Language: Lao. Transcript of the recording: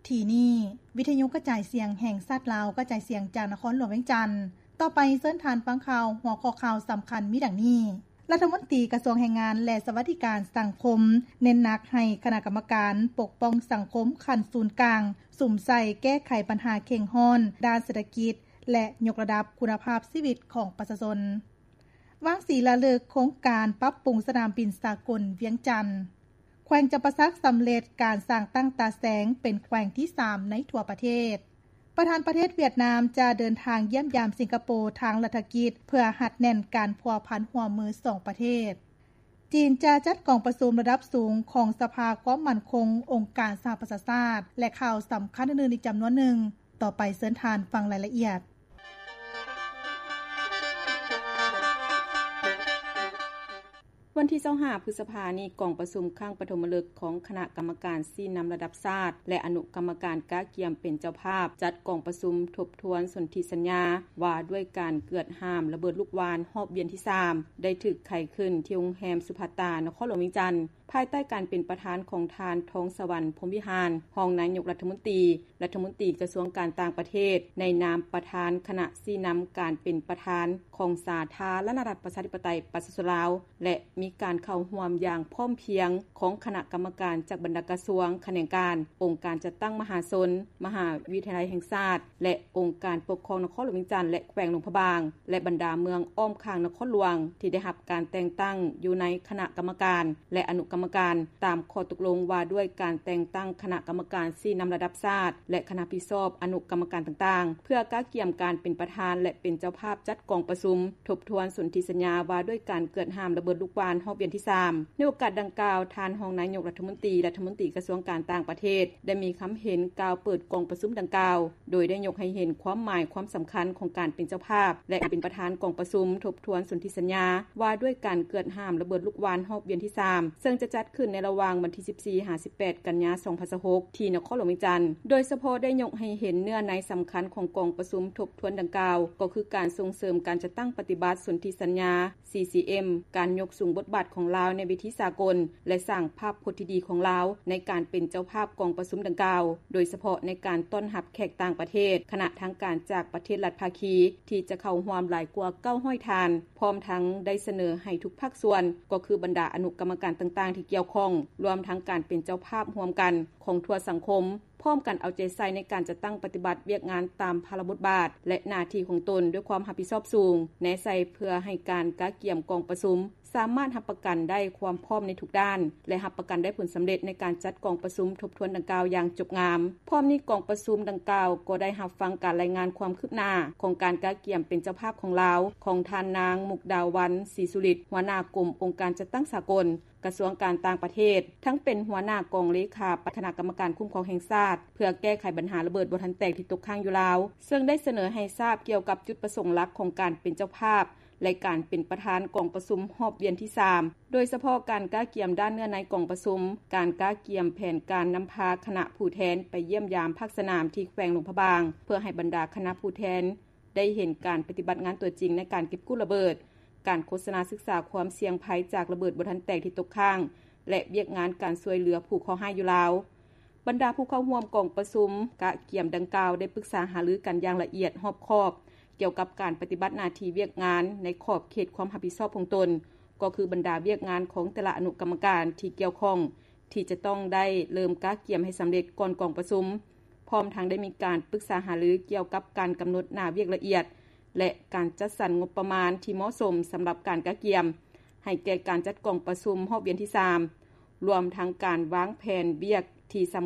ທີ່ນີ້ ວິທະຍຸກະຈາຍສຽງແຫ່ງຊາດລາວ ກະຈາຍສຽງຈາກນະຄອນຫຼວງວຽງຈັນ. ຕໍ່ໄປເຊີນທ່ານຟັງຂ່າວ ຫົວຂໍ້ຂ່າວສຳຄັນມີດັ່ງນີ້: ລັດຖະມົນຕີກະຊວງແຮງງານ ແລະ ສະຫວັດດີການສັງຄົມ ເນັ້ນໜັກໃຫ້ຄະນະກຳມະການປົກປ້ອງສັງຄົມຂັ້ນສູນກາງ ສຸມໃສ່ແກ້ໄຂບັນຫາເຄັ່ງຮ້ອນດ້ານເສດຖະກິດ ແລະ ຍົກລະດັບຄຸນນະພາບຊີວິດຂອງປະຊາຊົນ. ວາງສີລະລຶກໂຄງການປັບປຸງສະໜາມບິນສາກົນວຽງຈັນ. ແຂວງຈຳປາສັກສຳເລັດການສ້າງຕັ້ງຕາແສງເປັນແຂວງທີສາມໃນທົ່ວປະເທດ. ປະທານປະເທດຫວຽດນາມຈະເດີນທາງຢ້ຽມຢາມສິງກະໂປທາງລັດຖະກິດ ເພື່ອຮັດແໜ້ນການພົວພັນຮ່ວມມືສອງປະເທດ. ຈີນຈະຈັດກອງປະຊຸມລະດັບສູງຂອງສະພາຄວາມໝັ້ນຄົງອົງການສະຫະປະຊາຊາດ ແລະ ຂ່າວສຳຄັນອື່ນໆອີກຈຳນວນໜຶ່ງ. ຕໍ່ໄປເຊີນທ່ານຟັງລາຍລະອຽດ. ວັນທີຊາວຫ້າ ພຶດສະພານີ້, ກອງປະຊຸມຄັ້ງປະຖົມມະລຶກຂອງຄະນະກຳມະການຊີ້ນຳລະດັບຊາດ ແລະ ອະນຸກຳມະການກະກຽມເປັນເຈົ້າພາບ ຈັດກອງປະຊຸມທົບທວນສົນທິສັນຍາວ່າດ້ວຍການເກືອດຫ້າມລະເບີດລູກຫວ່ານຮອບວຽນທີສາມ ໄດ້ຖືກໄຂຂຶ້ນທີ່ໂຮງແຮມສຸພັດຕາ ນະຄອນຫຼວງວຽງຈັນ. ພາຍໃຕ້ການເປັນປະທານຂອງທ່ານ ທອງສະຫວັນ ພົມວິຫານ ຮອງນາຍົກລັດຖະມົນຕີ, ລັດຖະມົນຕີກະຊວງການຕ່າງປະເທດ, ໃນນາມປະທານຄະນະຊີ້ນຳການເປັນປະທານຂອງສາທາລະນະລັດ ປະຊາທິປະໄຕ ປະຊາຊົນລາວ ແລະ ມີການເຂົ້າຮ່ວມຢ່າງພ້ອມພຽງຂອງຄະນະກຳມະການຈາກບັນດາກະຊວງ, ຂະແໜງການ, ອົງການຈັດຕັ້ງມະຫາຊົນ, ມະຫາວິທະຍາໄລແຫ່ງຊາດ ແລະ ອົງການປົກຄອງນະຄອນຫຼວງວຽງຈັນ ແລະ ແຂວງຫຼວງພະບາງ ແລະ ບັນດາເມືອງອ້ອມຂ້າງນະຄອນຫຼວງ ທີ່ໄດ້ຮັບການແຕ່ງຕັ້ງຢູ່ໃນຄະນະກຳມະການ ແລະ ອະນຸກຳມະການ ຕາມຂໍ້ຕົກລົງວ່າດ້ວຍການແຕ່ງຕັ້ງຄະນະກຳມະການຊີ້ນຳລະດັບຊາດ ແລະ ຄະນະຮັບຜິດຊອບອະນຸກຳມະການຕ່າງໆ ເພື່ອກະກຽມການເປັນປະທານ ແລະ ເປັນເຈົ້າພາບຈັດກອງປະຊຸມ ທົບທວນສົນທິສັນຍາວ່າດ້ວຍການເກືອດຫ້າມລະເບີດລູກຫວ່ານຮອບວຽນທີສາມ. ໃນໂອກາດດັ່ງກ່າວ, ທ່ານຮອງນາຍົກລັດຖະມົນຕີ, ລັດຖະມົນຕີກະຊວງການຕ່າງປະເທດ ໄດ້ມີຄຳເຫັນກ່າວເປີດກອງປະຊຸມດັ່ງກ່າວ, ໂດຍໄດ້ຍົກໃຫ້ເຫັນຄວາມໝາຍຄວາມສຳຄັນຂອງການເປັນເຈົ້າພາບ ແລະ ເປັນປະທານກອງປະຊຸມທົບທວນສົນທິສັນຍາວ່າດ້ວຍການເກີດຫ້າມລະເບີດລູກຫວ່ານຮອບວຽນທີສາມ ເຊິ່ງຈະຈັດຂຶ້ນໃນລະຫວ່າງວັນທີສິບສີ່ ຫາ ສິບແປດ ກັນຍາ ສອງພັນຊາວຫົກ ທີ່ນະຄອນຫຼວງວຽງຈັນ. ໂດຍສະເພາະໄດ້ຍົກໃຫ້ເຫັນເນື້ອໃນສຳຄັນຂອງກອງປະຊຸມທົບທວນດັ່ງກ່າວ ກໍຄືການສົ່ງເສີມການຈັດຕັ້ງປະຕິບັດສົນທິສັນຍາ ຊີຊີເອັມ, ການຍົກສູງບົດບາດຂອງລາວໃນເວທີສາກົນ ແລະ ສ້າງພາບພົດທີ່ດີຂອງລາວໃນການເປັນເຈົ້າພາບກອງປະຊຸມດັ່ງກ່າວ, ໂດຍສະເພາະໃນການຕ້ອນຮັບແຂກຕ່າງປະເທດ, ຄະນະທາງການຈາກປະເທດລັດພາຄີ ທີ່ຈະເຂົ້າຮ່ວມຫຼາຍກວ່າເກົ້າຮ້ອຍທ່ານ, ພ້ອມທັງໄດ້ສະເໜີໃຫ້ທຸກພາກສ່ວນ, ກໍຄືບັນດາອະນຸກຳມະການຕ່າງໆທີ່ກ່ຽວຂ້ອງ, ລວມທັງການເປັນເຈົ້າພາບຮ່ວມກັນຂອງທົ່ວສັງຄົມ, ພ້ອມກັນເອົາໃຈໃສ່ໃນການຈັດຕັ້ງປະຕິບັດວຽກງານຕາມພາລະບົດບາດ ແລະ ໜ້າທີ່ຂອງຕົນດ້ວຍຄວາມຮັບຜິດຊອບສູງ ແນໃສ່ເພື່ອໃຫ້ການກະກຽມກອງປະຊຸມ ສາມາດຮັບປະກັນໄດ້ຄວາມພ້ອມໃນທຸກດ້ານ ແລະ ຮັບປະກັນໄດ້ຜົນສຳເລັດໃນການຈັດກອງປະຊຸມທົບທວນດັ່ງກ່າວຢ່າງຈົບງາມ. ພ້ອມນີ້, ກອງປະຊຸມດັ່ງກ່າວກໍໄດ້ຮັບຟັງການລາຍງານຄວາມຄືບໜ້າຂອງການກະກຽມເປັນເຈົ້າພາບຂອງລາວ ຂອງທ່ານນາງ ມຸກດາວັນ ສີສຸລິດ ຫົວໜ້າກົມອົງການຈັດຕັ້ງສາກົນ ກະຊວງການຕ່າງປະເທດ, ທັງເປັນຫົວໜ້າກອງເລຂາຄະນະກຳມະການຄຸ້ມຄອງແຫ່ງຊາດ ເພື່ອແກ້ໄຂບັນຫາລະເບີດບໍ່ທັນແຕກທີ່ຕົກຄ້າງຢູ່ລາວ, ເຊິ່ງໄດ້ສະເໜີໃຫ້ຊາບກ່ຽວກັບຈຸດປະສົງຫຼັກຂອງການເປັນເຈົ້າພາບ ແລະ ການເປັນປະທານກອງປະຊຸມຮອບວຽນທີສາມ, ໂດຍສະເພາະການກະກຽມດ້ານເນື້ອໃນກອງປະຊຸມ, ການກະກຽມແຜນການນຳພາຄະນະຜູ້ແທນໄປຢ້ຽມຢາມພາກສະໜາມທີ່ແຂວງຫຼວງພະບາງ ເພື່ອໃຫ້ບັນດາຄະນະຜູ້ແທນໄດ້ເຫັນການປະຕິບັດງານຕົວຈິງໃນການເກັບກູ້ລະເບີດ, ການໂຄສະນາສຶກສາຄວາມສ່ຽງໄພຈາກລະເບີດບໍ່ທັນແຕກທີ່ຕົກຄ້າງ ແລະ ວຽກງານການຊ່ວຍເຫຼືອຜູ້ເຄາະຮ້າຍຢູ່ລາວ. ບັນດາຜູ້ເຂົ້າຮ່ວມກອງປະຊຸມກະກຽມດັ່ງກ່າວໄດ້ປຶກສາຫາລືກັນຢ່າງລະອຽດຮອບຄອບ ກ່ຽວກັບການປະຕິບັດໜ້າທີ່ວຽກງານໃນຂອບເຂດຄວາມຮັບຜິດຊອບຂອງຕົນ, ກໍຄືບັນດາວຽກງານຂອງແຕ່ລະອະນຸກຳມະການທີ່ກ່ຽວຂ້ອງ ທີ່ຈະຕ້ອງໄດ້ເລີ່ມກະກຽມໃຫ້ສຳເລັດກ່ອນກອງປະຊຸມ, ພ້ອມທັງໄດ້ມີການປຶກສາຫາລືກ່ຽວກັບການກຳນົດໜ້າວຽກລະອຽດ ແລະ ການຈັດສັນງົບປະມານທີ່ເໝາະສົມສຳລັບການກະກຽມ ໃຫ້ແກ່ການຈັດກອງປະຊຸມຮອບວຽນທີສາມ ລວມທັງການວາງແຜນວຽກທີ່ສຳ